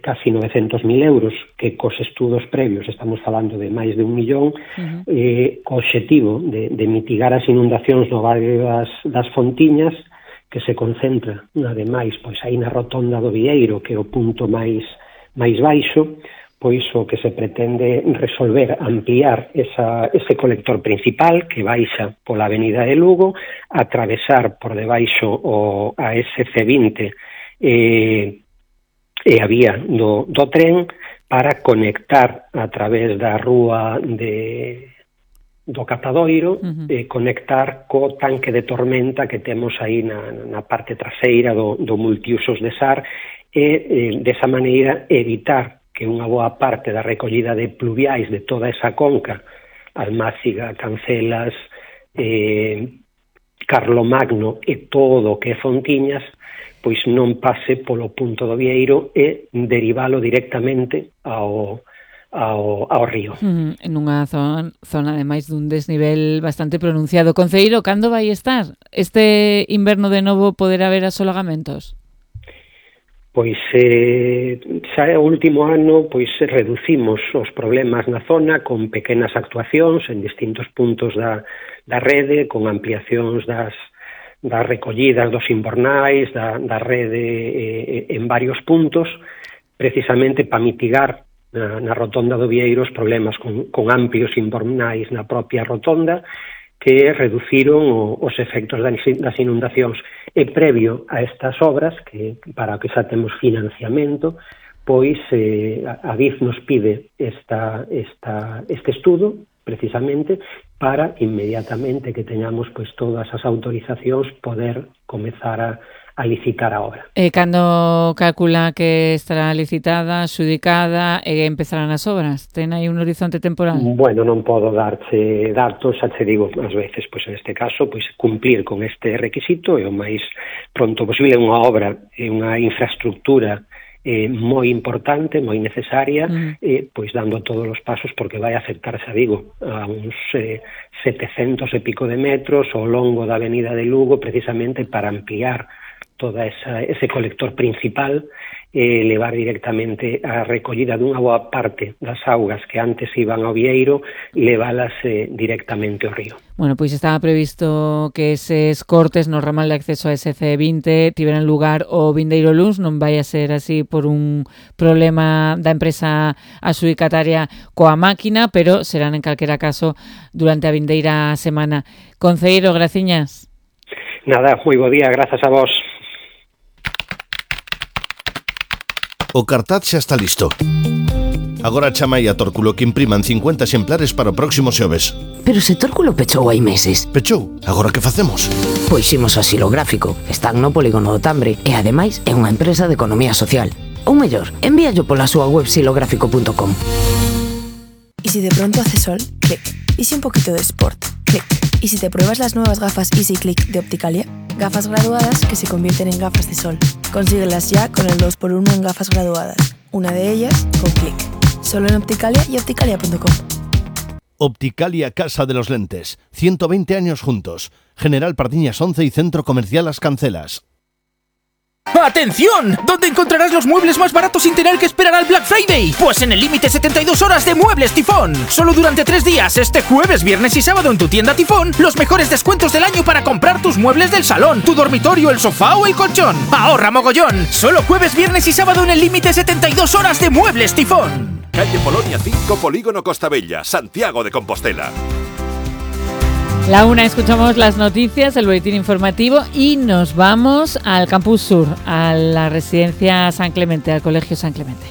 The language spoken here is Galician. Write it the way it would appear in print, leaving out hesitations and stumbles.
casi 900.000 euros, que cos estudos previos estamos falando de máis de 1 millón, co obxectivo de mitigar as inundacións no barrio das Fontiñas, que se concentra, ademais, pois aí na rotonda do Vieiro, que é o punto máis baixo, pois o que se pretende resolver, ampliar ese colector principal que baixa pola avenida de Lugo, atravesar por debaixo a SC20 e a vía do tren para conectar a través da rúa do Catadoiro, conectar co tanque de tormenta que temos aí na parte traseira do multiusos de SAR e, desa maneira, evitar que unha boa parte da recollida de pluviais de toda esa conca, Almáciga, Cancelas, Carlomagno e todo o que é Fontiñas, pois non pase polo punto do Vieiro e derivalo directamente ao río. En unha zona ademais dun desnivel bastante pronunciado. Concelleiro, cando vai estar? Este inverno de novo poderá haber asolagamentos? Pois xa o último ano pois reducimos os problemas na zona con pequenas actuacións en distintos puntos da rede, con ampliacións das recollidas dos inbornais, da rede en varios puntos, precisamente para mitigar na rotonda do Vieiro os problemas con amplios inbornais na propia rotonda que reduciron os efectos das inundacións. E previo a estas obras, que para que xa temos financiamento, pois a DIF nos pide este estudo, precisamente, para inmediatamente que teñamos pois todas as autorizacións poder comezar a licitar a obra. E cando calcula que estará licitada, xudicada e empezarán as obras? Ten aí un horizonte temporal? Bueno, non podo darche datos, xa te digo, ás veces, pois en este caso, pois cumplir con este requisito e o máis pronto posible. Unha obra e unha infraestructura moi importante, moi necesaria, pois dando todos os pasos porque vai afectar, xa digo, a uns 700 e pico de metros ao longo da avenida de Lugo, precisamente para ampliar toda ese colector principal e levar directamente a recollida dunha boa parte das augas que antes iban ao Vieiro, leválas directamente ao río. Bueno, pois estaba previsto que eses cortes no ramal de acceso a SC20 tiveran lugar o vindeiro luns, non vai a ser así por un problema da empresa adxudicataria coa máquina, pero serán en calquera caso durante a vindeira semana. Concelleiro, graciñas. Nada, moi bo día, grazas a vos. O cartaz xa está listo. Agora chamai a Tórculo que impriman 50 exemplares para o próximo xoves. Pero se Tórculo pechou hai meses. Pechou? Agora que facemos? Pois imos ao Xilográfico. Están no polígono do Tambre e, ademais, é unha empresa de economía social. Ou mellor, envíallo pola súa web xilográfico.com. ¿Y si de pronto hace sol? Clic. ¿Y si un poquito de sport? Clic. ¿Y si te pruebas las nuevas gafas Easy Click de Opticalia? Gafas graduadas que se convierten en gafas de sol. Consíguelas ya con el 2x1 en gafas graduadas. Una de ellas con Clic. Solo en Opticalia y opticalia.com. Opticalia Casa de los Lentes. 120 años juntos. General Pardiñas 11 y Centro Comercial Las Cancelas. ¡Atención! ¿Dónde encontrarás los muebles más baratos sin tener que esperar al Black Friday? Pues en el límite 72 horas de Muebles Tifón. Solo durante 3 días, este jueves, viernes y sábado en tu tienda Tifón, los mejores descuentos del año para comprar tus muebles del salón, tu dormitorio, el sofá o el colchón. ¡Ahorra mogollón! Solo jueves, viernes y sábado en el límite 72 horas de Muebles Tifón. Calle Polonia 5, Polígono Costa Bella, Santiago de Compostela. La una, escuchamos las noticias, el boletín informativo y nos vamos al Campus Sur, a la residencia San Clemente, al Colegio San Clemente.